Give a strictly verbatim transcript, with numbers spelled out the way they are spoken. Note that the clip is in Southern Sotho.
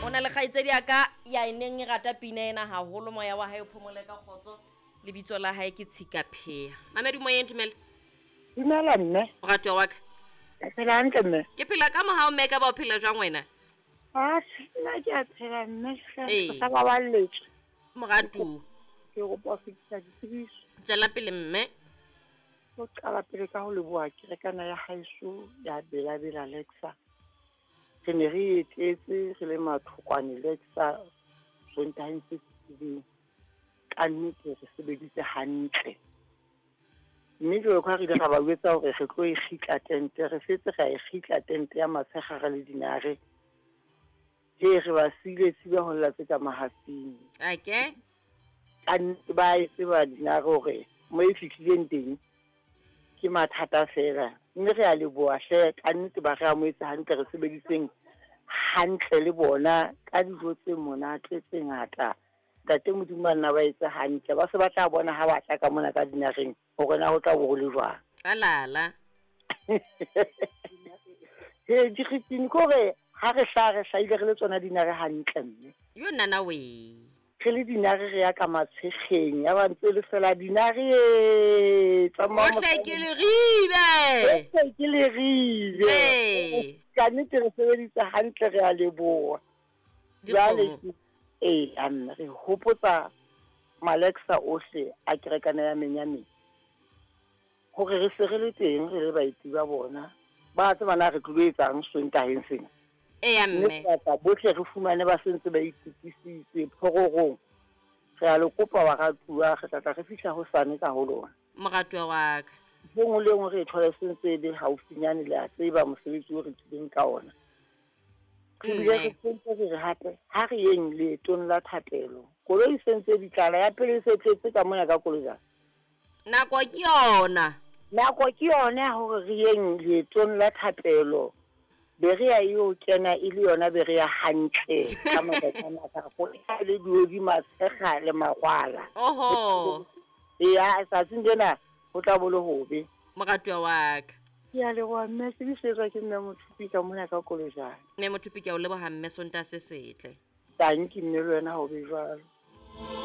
O na le kgaitsedi ya ka ya e neng e rata pina ena haholo, moya wa hae o phomole ka kgotso. Lebitso la hae ke Tshika Phea. Mamedi moyeng, dumela. Dumela mme. Moratuwa wa ka. Ke phela hantle mme. Ke phela ka mohau mme, ka ba o phela jwang wena? Ah, nna ke a phela mme. Ee. Re sa baballetswe. Moratuwa. Ke kopa ho fetisa ditsebiso. Tswela pele mme. Ho qala pele ka ho leboha kerekana ya haeso ya Bela-Bela Lexa. Re ne re etetse re le mathokwane Lexa Sontaheng se fetileng. Ka nnete re sebeditse hantle. Mme jwalo ka ha re ile ra ba jwetsa hore re tlo e kgitla tente, re setse ra e kgitla tente ya matshehare le dinare. He re ba siile tshiba ho lla tse ka mahafing. Okay. Ka nnete ba e tseba dinare hore mo e fihlileng teng ke mathata fela. Mme re a leboha hle, ka nnete ba re amohetse hantle, re sebeditseng hantle le bona ka dijo tse monate tse ngata. Ntate Modimo a nna ba etse hantle, ba se ba tla bona ha ba tla ka mona ka dinareng hore na ho tla bo ho le jwang. Alala. He dikgitsini ke hore ha re hlaha re hlahile re le tsona dinare hantle mme. Yo nana we. Re le dinare re ya ka matshekgeng, ya ba ntse le fela dinare e, tsamaya Ohle ke le ribe. Ohle ke le ribe. Ee. Ka nnete re sebeditse hantle, re a leboha. Jwale Dikgomo. ke ee, a mme re hopotsa Malexa ohle a kerekana ya Menyameng hore re se re le teng re le baeti ba bona. Ba tseba na re tlilo etsang Sontaheng sena. Eya Mme mme. kapa bohle re fumane ba sentse ba itukisitse phororong. Re a le kopa baratuwa, re tla tla re fihla hosane ka ho lona. Moratuwa wa ka. Ntho e nngwe le e nngwe re e thole sentse e le haufinyane, le a tseba mosebetsi o re tlileng ka ona. Re bile re Mme. sentse re re hape ha re yeng leetong la thapelo. Koloi e sentse di tlala, ya pele e se tletse ka mona ka koloi. Nako ke yona. Nako ke yona ya hore re yeng leetong la thapelo. Be re ya eo kena e le yona be re ya hantle ka matsatsi a mararo. E le diodi matshekga le magwala. Oho. Eya, tsatsing lena ho tla bo le hobe. Moratuwa wa ka. Ke a leboha mme, se di setswa ke mme Mothupi ka mona ka Kolojane. Mme Mothupi ke a o leboha mme, Sontaha se setle. Tanki mme le wena ho be jwalo.